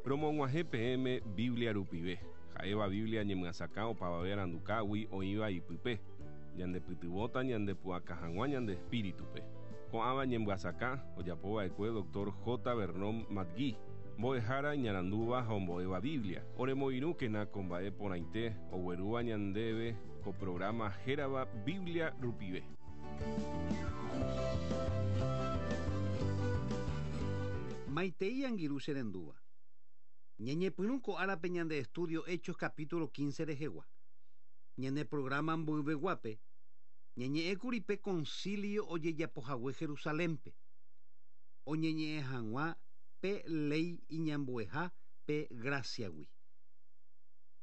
Romog̃uahẽ peẽme Biblia rupive, ha'éva Biblia ñemyasakã opavave arandukágui oĩva ipype, ñandepytyvõta ñandepu'aka hag̃ua ñande espíritupe. Ko'ãva ñemyasakã ojapova'ekue Doctor J. Vernon McGee, mbo'ehára iñarandúva ha ombo'éva Biblia. Oremoirũkena ko mba'e porãite oguerúva ñandéve ko programa hérava Biblia rupive. Maitei angirũ che rendúva. Ñañepyrũ ko árape ñande estudio Hechos capítulo 15 rehegua. Ñane programa mboyveguápe, ñañe'ẽkuri pe concilio ojejapohague Jerusalénpe, oñeñe'ẽ hag̃ua pe léi iñambueha pe grásiagui.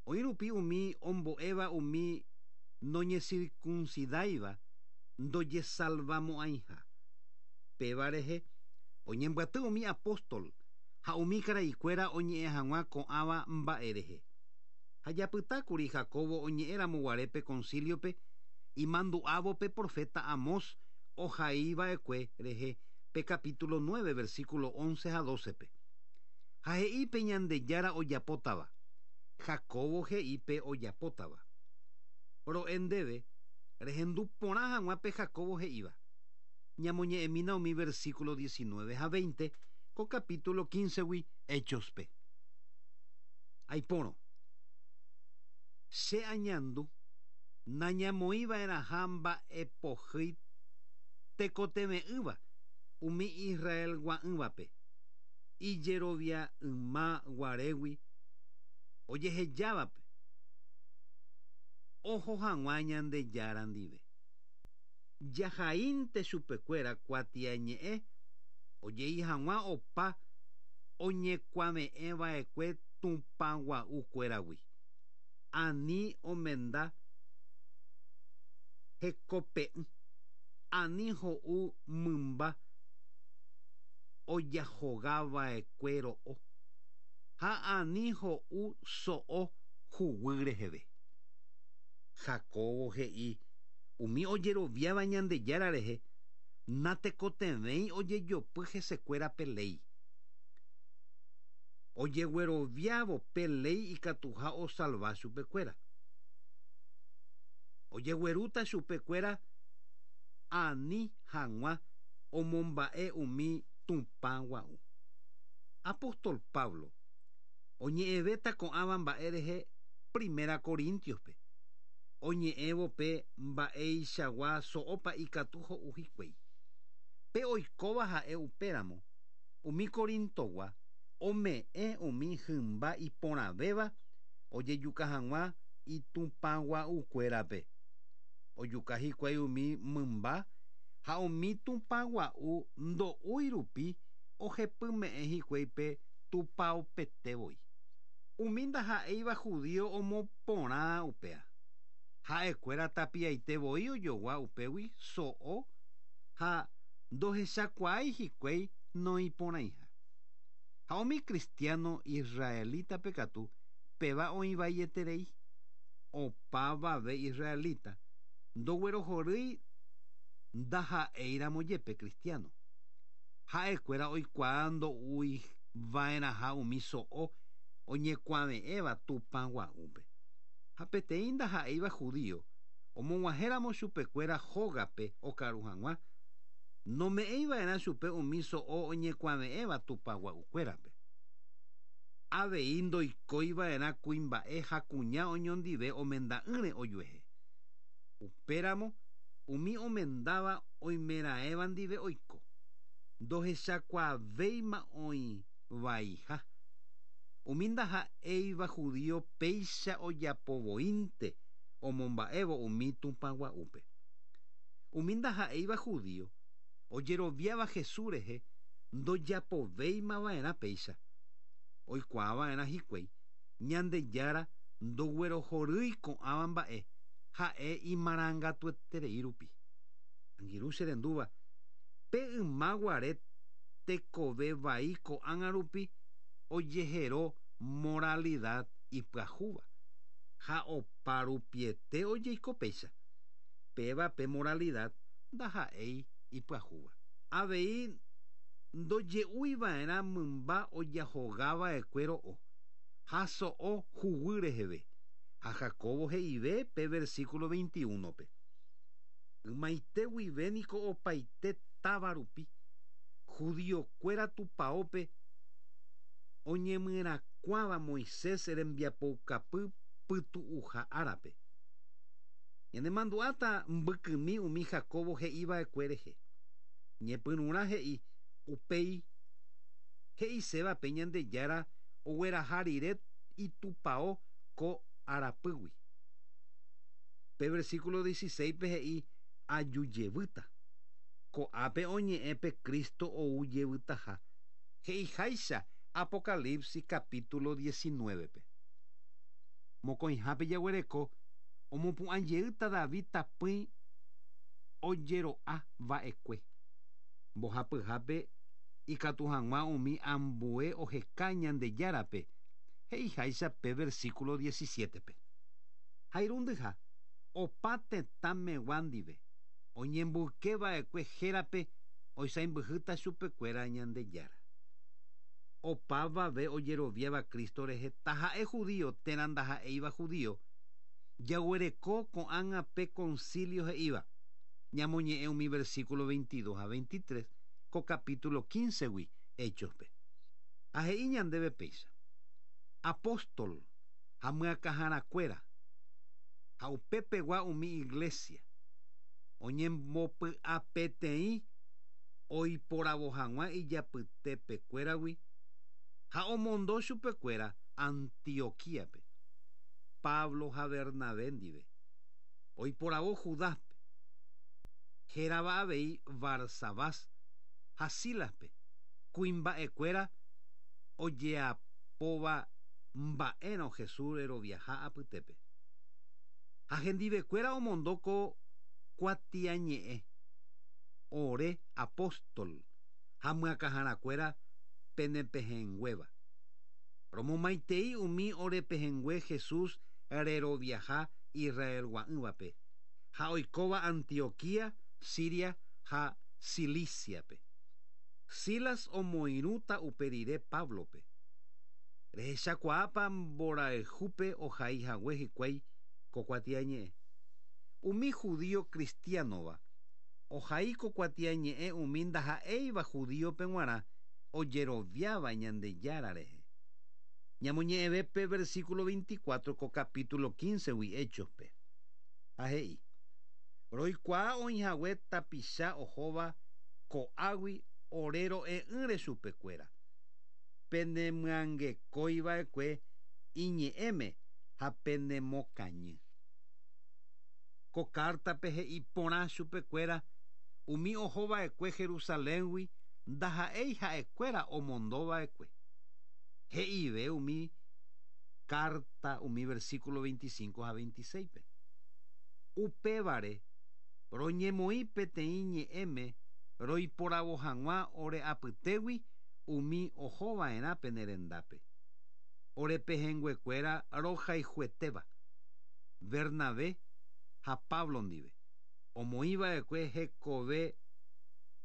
Oĩ rupi umi ombo'éva umi noñesirkunsidáiva ndojesalvamo'ãiha. Péva rehe oñembyaty umi apóstol ha umi karaikuéra oñe'ẽ hag̃ua ko'ãva mba'e rehe. Ha japytákuri Jacobo oñe'ẽramo guare pe concilio-pe imandu'ávo pe profeta Amós ohaiva'ekue rehe pe capítulo 9 versículo 11 ha 12-pe. Ha he'i pe Ñandejára ojapótava. Jacobo he'i pe ojapótava. Ro'e ndéve, rehendu porã hag̃ua pe Jacobo he'íva. Ñamoñe'ẽmína umi versículo 19 ha 20 ko capítulo 15-gui Hechos-pe. Aipórõ. Che añandu nañamoĩva'erãha mba'epohýi tekotevẽ'ỹva umi Israelgua'ỹvape, ijerovia'ỹma guarégui ojehejávape oho hag̃ua Ñandejára ndive. Jahaínte chupekuéra kuatiañe'ẽ ojei hag̃ua opa oñekuave'ẽva'ekue tupãgua'ukuéragui, ani omenda hekope'ỹ, ani ho'u mymba ojahogava'ekue ro'o, ha ani ho'u so'o huguy reheve. Jacobo he'i umi ojeroviáva Ñandejára rehe natekotevẽi ojejopy hesekuéra pe léi. Ojegueroviávo pe léi ikatuha osalva chupekuéra. Ojeguerúta chupekuéra ani hag̃ua omomba'e umi tupã gua'u. Apóstol Pablo oñe'ẽvéta ko'ãva mba'e rehe Primera Corintios-pe, oñe'ẽvo pe mba'eichagua so'ópa ikatu ho'u hikuái. Pe oikóva ha'e upéramo, umi Corintogua ome'ẽ umi hymba iporãvéva ojejuka hag̃ua itupãgua'ukuérape. Ojuka hikuái umi mymba ha umi tupãgua'u ndo'úi rupi ohepyme'ẽ hikuái pe tupãopete voi. Umi ndaha'éiva judío omoporã upéa. Ha'ekuéra tapiaite voi ojogua upégui so'o ha ndohechakuaái hikuái noĩporãiha. Ha umi cristiano israelítape katu péva oĩ vaieterei. Opavave israelita ndoguerohorýi ndaha'éiramo jepe cristiano. Ha'ekuéra oikuaa ndo'uiva'erãha umi so'o oñekuave'ẽva tupãgua'úpe. Ha peteĩ ndaha'éiva judío omog̃uahẽramo chupekuéra hógape okaru hag̃ua, nome'ẽiva'erã chupe umi so'o oñekuave'ẽva tupãgua'ukuérape. Avei ndoikóiva'erã kuimba'e ha kuña oñondive omenda'ỹre ojuehe. Upéramo umi omendáva oimeraẽva ndive oiko, ndohechakuaavéima oĩvaiha. Umi ndaha'éiva judío péicha ojapovoínte omomba'évo umi tupãgua'úpe. Umi ndaha'éiva judío ojeroviáva Jesús rehe ndojapovéimava'erã péicha. Oikuaava'erã hikuái Ñandejára ndoguerohorýi ko'ãva mba'e ha'e imarangatueterei rupi. Angirũ che rendúva, pe yma guare tekove vai ko'ág̃a rupi ojehero moralidad ipyahúva ha opa rupiete ojeiko péicha. Péva pe moralidad ndaha'éi ipyahúva. Avei Ndoje'uiva'erã mymba ojahogava'ekue ro'o, ha so'o huguy reheve. Ha Jacobo he'ive pe versículo 21-pe. Ymaite guive niko opaite táva rupi, judiokuéra tupaópe oñemyerakuãva Moisés rembiapoukapy pytu'uha árape. Ñanemandu'áta mbykymi umi Jacobo he'iva'ekue rehe. Ñepyrũrã he'i upéi he'iséva pe Ñandejára ogueraha rire itupao ko arapýgui. Pe versículo 16-pe he'i ajujevýta. Ko'ápe oñe'ẽ pe Cristo ou jevytaha. He'iháicha Apocalipsis capítulo 19-pe. Mokõihápe jaguereko omopu'ãjeýta David tapỹi ojero'a va'ekue. Mbohapyhápe ikatu hag̃ua umi ambue oheka Ñandejárape, he'iháicha pe versículo 17-pe. Ha irundyha, opa tetãmegua ndive, oñemboyke va'ekue hérape oisãimbyhýta chupekuéra Ñandejára. Opavave ojeroviáva Cristo rehe taha'e judío térã ndaha'éiva judío, jaguereko ko'ág̃a pe concilio he'íva, ñamoñe'ẽ umi versículo 22 ha 23 ko capítulo 15-gui Hechos-pe. Ha he'i ñandéve péicha: Apóstol ha myakãharakuéra ha upepegua umi iglesia oñembopy'apeteĩ oiporavo hag̃ua ijapytepekuéragui ha omondo chupekuéra Antioquíape, Pablo ha Bernabé ndive. Oiporavo Judáspe, hérava avei Barsabás ha Sílaspe, kuimba'ekuéra ojeapóva mba'érõ Jesús reroviaha apytépe. Ha hendivekuéra omondo ko kuatiañe'ẽ, ore apóstol ha myakãharakuéra penepehẽnguéva. Romomaitei umi orepehẽngue Jesús reroviaha Israelgua'ỹvape ha oikóva Antioquía, Siria ha Cilíciape. Silas omoirũta upe rire Páblope. Rehechakuaápa mborayhúpe ohai hague hikuái ko kuatiañe'ẽ? Umi judío cristiánova ohai ko kuatiañe'ẽ umi ndaha'éiva judíope g̃uarã ojeroviáva Ñandejára rehe. Ñamoñe'ẽve pe versículo 24 ko capítulo 15-gui Hechos-pe. Ha he'i: Roikuaa oĩhague tapicha ohóva ko'águi ore ro'e'ỹre chupekuéra. Penemyangekóiva'ekue iñe'ẽme ha penemokañy. Ko kártape he'i porã chupekuéra umi ohova'ekue Jerusaléngui ndaha'éi ha'ekuéra omondova'ekue. He'ive umi carta umi versículo 25 ha 26-pe. Upévare roñemoĩ peteĩ ñe'ẽme roiporavo hag̃ua ore apytégui umi ohova'erã pene rendápe. Ore pehẽnguekuéra rohayhuetéva, Bernabé ha Pablo ndive, omoĩva'ekue hekove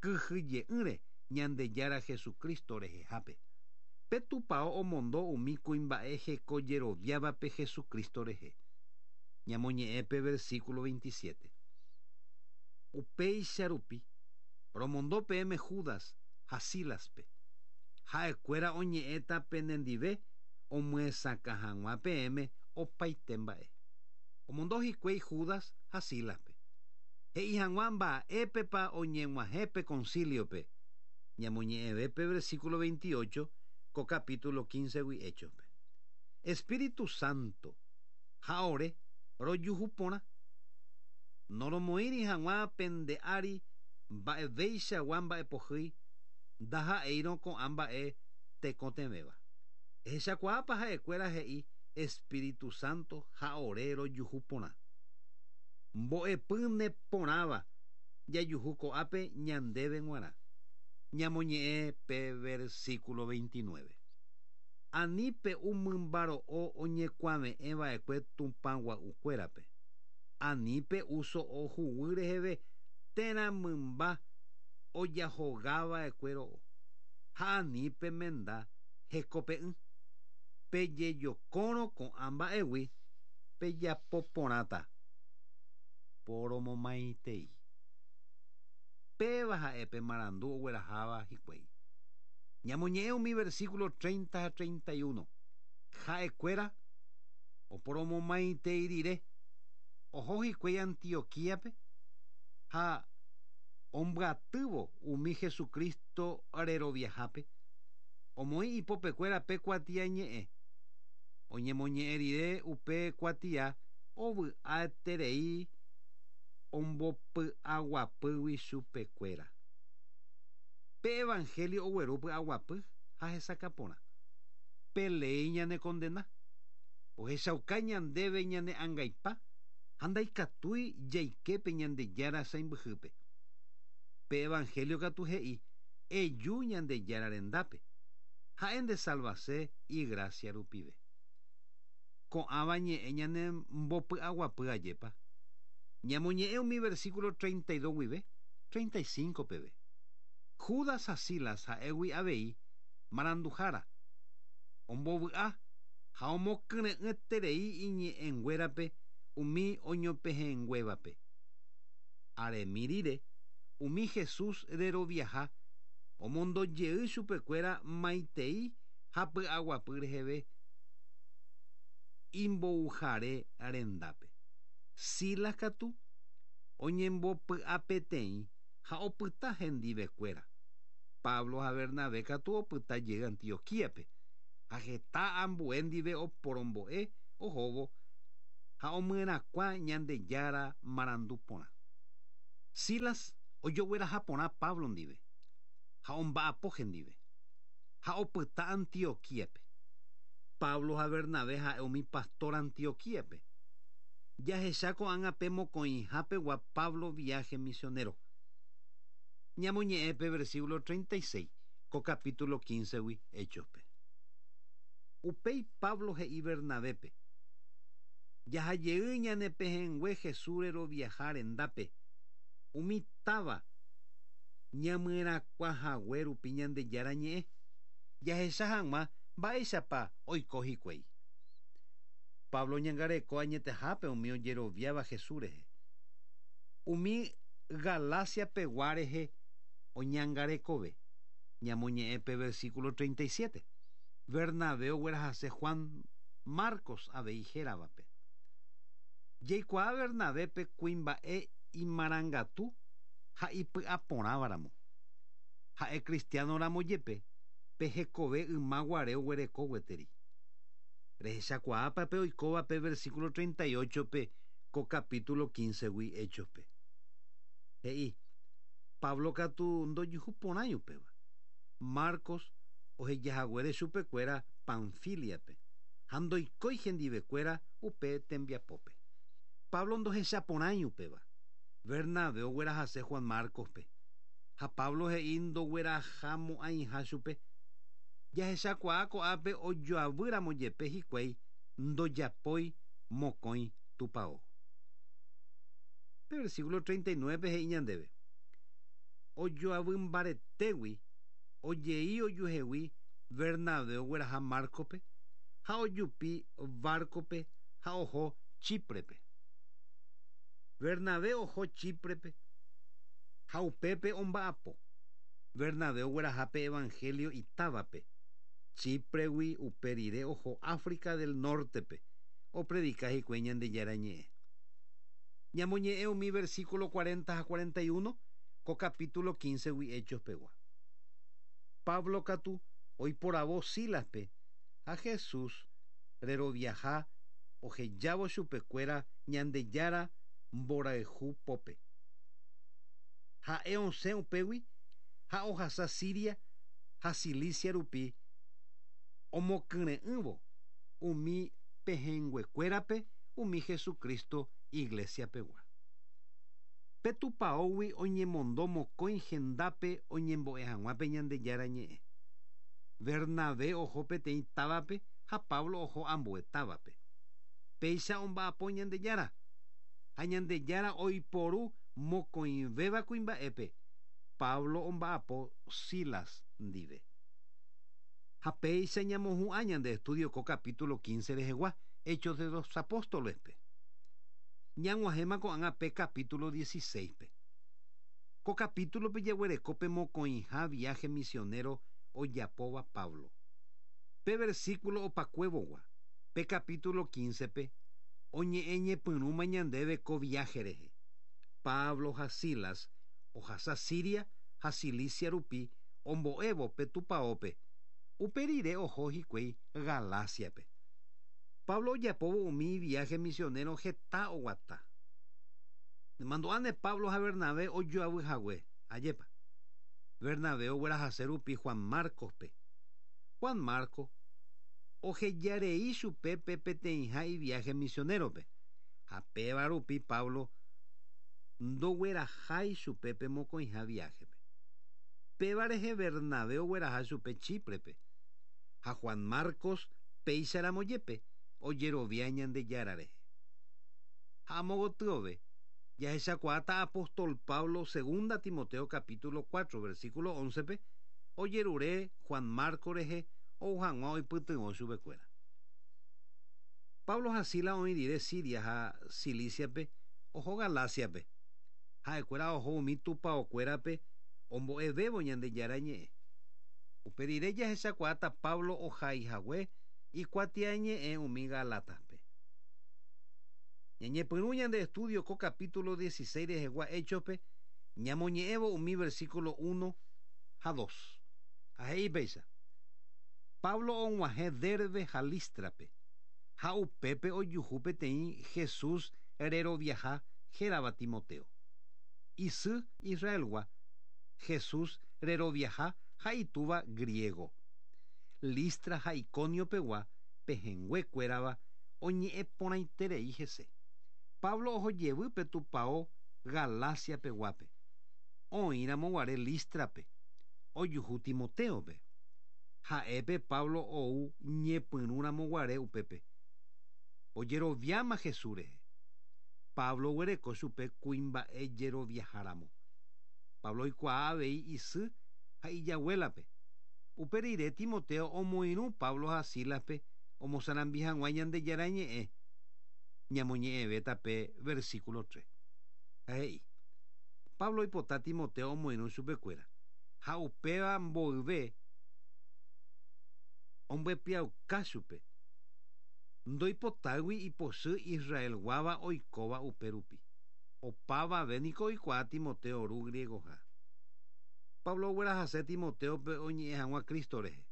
kyhyje'ỹre Ñandejára Jesucristo rehehápe. Pe tupao omondo umi kuimba'e hekojeroviávape Jesucristo rehe. Ñamoñe'ẽ pe versículo 27. Upéicha rupi, romondo peẽme Judas ha Sílaspe. Ha'ekuéra oñe'ẽta penendive omyesakã hag̃ua peẽme opaite mba'e. Omondo hikuái Judas ha Sílaspe. He'i hag̃ua mba'épepa oñeg̃uahẽ pe concilio-pe. Ñamoñe'ẽve pe versículo 28 ko capítulo 15-gui Hechos-pe. Espíritu Santo ha ore rojuhu porã. Noromoĩri hag̃ua pende ári mba'eveichagua mba'epohýi ndaha'éirõ ko'ã mba'e tekotevẽva. Ehechakuaápa ha'ekuéra he'i Espíritu Santo ha ore rojuhu porã. Mbo'epy neporãva jajuhu ko'ápe ñandéve g̃uarã. Ñamoñe'ẽ pe versículo 29. Ani pe'u mymba ro'o oñekuave'ẽ va'ekue Tupã gua'ukuérape. Ani pe'u so'o huguy reheve térã mymba ojahogava'ekue ro'o. Ha ani pemenda hekope'ỹ. Pejejokórõ ko'ã mba'égui pejapo porãta. Poromomaitei. Péva ha'e pe marandu ogueraháva hikuái. Ñamoñe'ẽ umi versículo 30 ha 31. Ha'ekuéra oporomomaitei rire, oho hikuái Antioquíape ha ombyatývo umi Jesucristo reroviahápe, omoĩ ipopekuéra pe kuatiañe'ẽ. Oñemoñe'ẽ rire upe kuatia ovy'aiterei ombopy'aguapýgui chupekuéra. Pe evangelio ogueru py'aguapy ha hesakã porã. Pe léi ñanekondena. Ohechauka ñandéve ñane angaipa ha ndaikatúi jaike pe Ñandejára sãimbyhýpe. Pe evangelio katu he'i, Eju Ñandejára rendápe, ha'e ndesalvase igrásia rupive. Ko'ãva ñe'ẽ ñanembopy'aguapy ajépa. Ñamoñe'ẽ umi versículo 32 guive 35 peve. Judas ha Silas ha'égui avei maranduhára, ombovy'a ha omokyre'ỹeterei iñe'ẽnguérape umi oñopehẽnguévape. Aremi rire, umi Jesús reroviaha omondo jey chupekuéra maitei ha py'aguapy reheve imbouhare rendápe. Silas katu oñembopy'apeteĩ ha opyta hendivekuéra. Pablo ha Bernabé katu opyta jey Antioquíape, ha heta ambue ndive oporombo'e ohóvo ha omyerakuã Ñandejára marandu porã. Silas ojogueraha porã Pablo ndive ha omba'apo hendive, ha opyta Antioquíape. Pablo ha Bernabé ha'e umi pastor Antioquíape. Jahecha ko'ág̃a pe mokõiha pegua Pablo viaje misionero. Ñamoñe'ẽ pe versículo 36 ko capítulo 15-gui Hechospe. Upéi Pablo he'i Bernabépe: Jahajey ñane pehẽngue Jesús reroviaha rendápe, umi táva ñamyerakuãhague rupi Ñandejára ñe'ẽ, jahecha hag̃ua mba'éichapa oiko hikuái. Pablo oñangareko añetehápe umi ojeroviáva Jesús rehe. Umi Galacia pegua rehe oñangarekove. Ñamoñe'ẽ pe versículo 37. Bernabé oguerahase Juan Marcos avei héravape. Jaikuaa Bernabépe kuimba'e imarangatu ha ipy'aporãvaramo. Ha'e cristiano ramo jepe pe hekove yma guare oguereko gueteri. Rehechakuaápa pe oikóva pe versículo 38-pe ko capítulo 15-gui Hechospe. He'i, Pablo katu ndojuhuporãi upéva. Marcos ohejahaguére chupekuéra Panfiliape ha ndoikói hendivekuéra upe tembiapópe. Pablo ndohechaporãi upéva. Bernabé oguerahase Juan Marcospe. Ha Pablo he'i ndoguerahamo'ãiha chupe. Jahechakuaa ko'ápe ojoavýramo jepe hikuái ndojapói mokõi tupão. Pe versículo 39 he'i ñandéve: Ojoavy mbaretégui ojei ojuehegui Bernabé ogueraha Márcospe ha ojupi bárcope ha oho Chíprepe. Bernabé oho Chíprepe ha upépe omba'apo. Bernabé ogueraha pe evangelio itávape. Chípregui upe rire oho África del Nortepe opredika hikuái Ñandejára ñe'ẽ. Ñamoñe'ẽ umi versículo 40 ha 41 ko capítulo 15-gui Hechos pegua. Pablo katu oiporavo Sílaspe ha Jesús reroviaha ohejávo chupekuéra Ñandejára mborayhu pópe. Ha'e osẽ upégui ha ohasa Siria ha Cilicia rupi omokyre'ỹvo umi pehẽnguekuérape umi Jesucristo iglesia pegua. Pe tupãógui oñemondo mokõi hendápe oñembo'e hag̃ua pe Ñandejára ñe'ẽ. Bernabé oho peteĩ távape ha Pablo oho ambue távape. Péicha omba'apo Ñandejára. Ha Ñandejára oiporu mokõivéva kuimba'épe, Pablo omba'apo Silas ndive. Ha péicha ñamohu'ã ñande estudio ko capítulo 15 rehegua, Hechos de los Apóstoles-pe. Ñag̃uahẽma ko'ág̃a pe capítulo 16-pe. Ko capítulo-pe jaguereko pe mokõiha viaje misionero ojapóva Pablo. Pe versículo opakuevogua, pe capítulo 15-pe, oñe'ẽ ñepyrũma ñandéve ko viaje rehe. Pablo ha Silas ohasa Siria ha Cilicia rupi ombo'évo pe tupaópe, upe rire oho hikuái Galacia-pe. Pablo ojapóvo umi viaje misionero heta oguata. Nemandu'áne Pablo ha Bernabé ojoavy hague, ajépa. Bernabé oguerahase rupi Juan Marcos-pe. Juan Marcos ohejarei chupe pe peteĩha iviaje misionero-pe, ha péva rupi Pablo ndoguerahái chupe pe mokõiha viaje-pe. Péva rehe Bernabé ogueraha chupe Chipre-pe, ha Juan Marcos péicharamo jepe ojerovia Ñandejára rehe. Ha amo gotyove, jahechakuaáta apóstol Pablo segunda Timoteo capítulo 4 versículo 11-pe ojerure Juan Marcos rehe ou hag̃ua oipytyvõ chupekuéra. Pablo ha Silas oĩ rire Siria ha Cilicia-pe oho Galacia-pe. Ha'ekuéra oho umi tupaokuérape ombo'evévo Ñandejára ñe'ẽ. Upe rire jahechakuaáta Pablo ohaihague ikuatiañe'ẽ umi Galatas-pe. Ñañepyrũ ñande estudio ko capítulo 16 rehegua Hechos-pe ñamoñe'ẽvo umi versículo 1 ha 2. Ha he'i péicha. Pablo og̃uahẽ Derbe ha Listra-pe, ha upépe ojuhu peteĩ Jesús reroviaha hérava Timoteo. Isy Israelgua, Jesús reroviaha ha itúva griego. Listra ha Iconio-pegua pehẽnguekuérava oñe'ẽ porãiterei hese. Pablo ohojevy pe tupão Galacia-peguápe. Oĩramo guare Listra-pe, ojuhu Timoteo-pe. Ha'épe Pablo ou ñepyrũramo guare upépe. Ojeroviáma Jesús rehe. Pablo oguereko chupe kuimba'e jeroviaháramo. Pablo oikuaa avei isy ha ijaguélape. Upe rire Timoteo omoirũ Pablo ha Silas-pe omosarambi hag̃ua Ñandejára ñe'ẽ, ñamoñe'ẽvéta pe versículo 3. Ha he'i, Pablo oipota Timoteo omoirũ chupekuéra, ha upéva mboyve ombyepiauka chupe, ndoipotáigui ipochy Israelguáva oikóva upe rupi. Opavave niko oikuaa Timoteo ru griegoha. Pablo oguerahase Timoteo-pe oñe'ẽ hag̃ua Cristo rehe.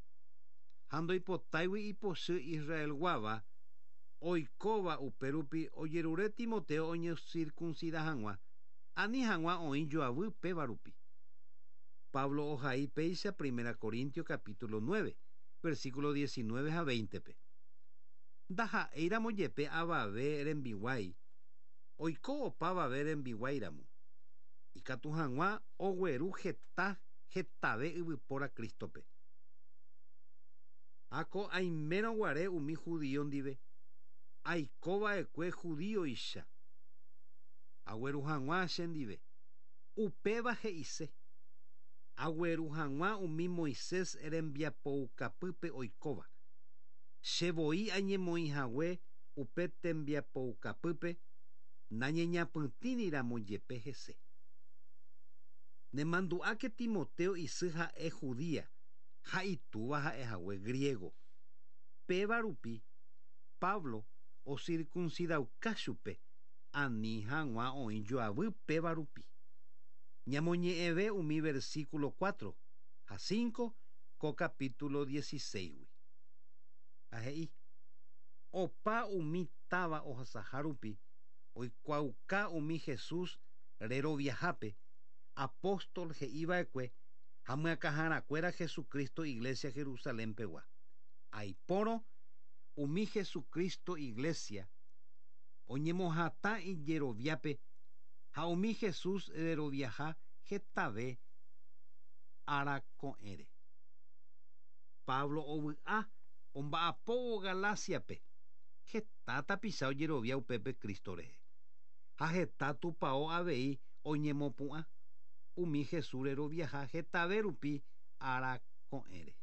Ha ndoipotáigui ipochy Israelguáva oikóva upe rupi ojerure Timoteo oñecircuncida hag̃ua, ani hag̃ua oĩ joavy péva rupi. Pablo ohai péicha Primera Corintio capítulo 9, versículo 19 ha 20-pe. Ndaha'éiramo jepe avave rembiguái, oiko opavave rembiguáiramo, ikatu hag̃ua ogueru heta hetave yvypóra Cristo-pe. Ha ko aimérõ guare umi judío ndive, aikova'ekue judíoicha, agueru hag̃ua chendive. Upéva he'ise, agueru hag̃ua umi Moisés rembiapoukapýpe oikóva. Che voi añemoĩhague upe tembiapoukapýpe nañeñapytĩriramo jepe hese. Nemandu'áke Timoteo isy ha'e judía ha itúva ha'ehague griego. Péva rupi, Pablo ocircuncidauka chupe, ani hag̃ua oĩ joavy péva rupi. Ñamoñe'ẽve umi versículo 4 ha 5 ko capítulo 16-gui. Ha he'i, Opa umi táva ohasaha rupi oikuaauka umi Jesús reroviahápe, apóstol he'iva'ekue ha myakãharakuéra Jesucristo Iglesia Jerusalén-pegua. Aipórõ umi Jesucristo Iglesia oñemohatã ijeroviápe ha umi Jesús reroviaha hetave ára ko'ẽre. Pablo ovy'a omba'apóvo Galacia-pe, heta tapicha ojerovia upépe Cristo rehe. Ha heta tupão avei oñemopu'ã, umi Jesús reroviaha hetave rupi ára ko'ẽre.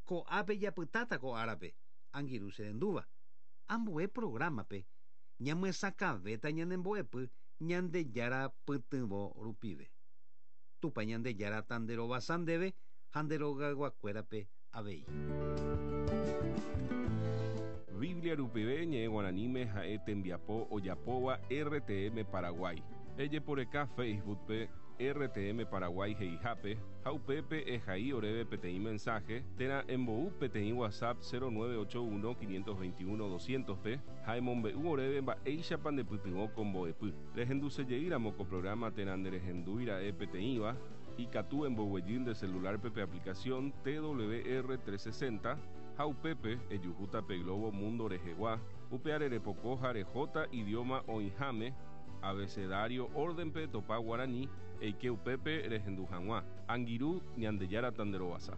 Ko'ápe japytáta ko árape, angirũ cherendúva. Ambue programa-pe, ñamyesakãvéta ñane mbo'epy Ñandejára pytyvõ rupive. Tupã Ñandejára tanderovasa ndéve ha nde rogayguakuérape avei. Biblia rupive ñe'ẽ guaraníme ha'e tembiapo ojapóva RTM Paraguay. Ejeporeka Facebook-pe RTM Paraguay he'ihápe ha upépe ehai oréve peteĩ mensaje térã embou peteĩ WhatsApp 0981 521 200-pe ha emombe'u oréve mba'éichapa nepytyvõ ko mbo'epy. Rehendusejeýramo ko programa térã nderehendúira'e peteĩva, ikatu emboguejy nde celular-pe pe aplicación TWR 360 ha upépe ejuhúta pe globo mundo rehegua, upeare repoko ha rehóta idioma oĩháme, abecedario orden-pe etopa guarani, eike upépe rehendu hag̃ua. Angirũ, Ñandejára tanderovasa.